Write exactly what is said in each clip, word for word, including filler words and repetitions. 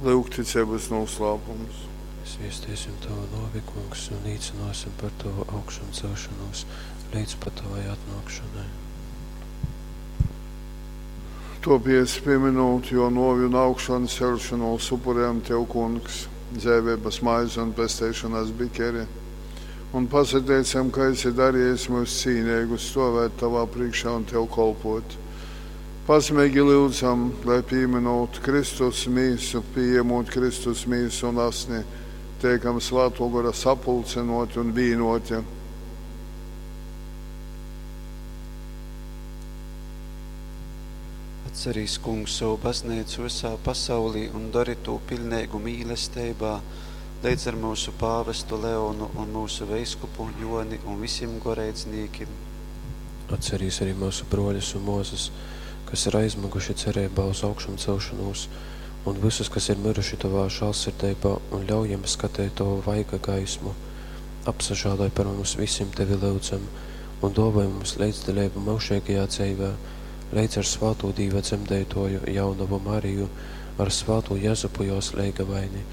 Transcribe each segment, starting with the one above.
Lyugticeibas nūslāpums. Sviesteisim Tavu nōvi, Kungs, un līcynōsim par Tovu augšamcelšonūs leidz pat Tovai atnōkšonai. Tōpēc, pīmynūt Jō nōvi un augšanceļšonūs, upurejam Tev, Kungs, dzeiveibas maizi un pesteišonas bikeri, un pasateicam, ka esi darejis myus cīneigus stōvēt Tovā prīškā un Tev kolpōt. Pazemeigi lyudzam, lai pīmynūt Kristus mīsu, pījemūt Kristus mīsu un asni, teikam Svātō Gora sapulcynōti un vīnōti. Atcerīs, Kungs, sovu bazneicu vysā pasaulī un dori tū piļneigu mīlesteibā, leidz ar myusu pāvestu Leonu un myusu veiskupu Jōni un visim goreidznīkim. Atcerīs arī myusu brōļus un mōsas, kas ir aizmyguši cereibā uz augšamcelšonūs, un vysus, kas ir myruši Tovā žālsirdeibā, un ļauj jim skateit Tovu vaiga gaismu. Apsažāloj par mums visim, Tevi lyudzam, un dōvoj mums leidzdaleibu myužeigajā dzeivē, leidz ar svātū Dīva dzemdeitōju, jaunovu Mariju, ar svātū Jezupu jōs leigavaini,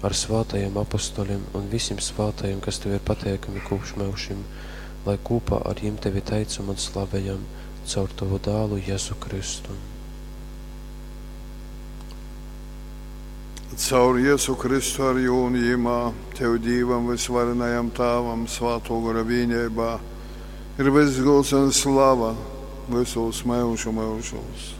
ar svātajim apostolim un visim svātajim, kas Tev ir pateikami kopš myužim, lai kopā ar jim Tevi teicam un slavejam caur Tavu dālu Jezu Kristu. Caur Jezu Kristu ar jū un jimā, Tev Dīvam vysvarenajam Tāvam, Svātō Gora vīneibā, ir vyss gūds un slava vysūs myužu myužūs.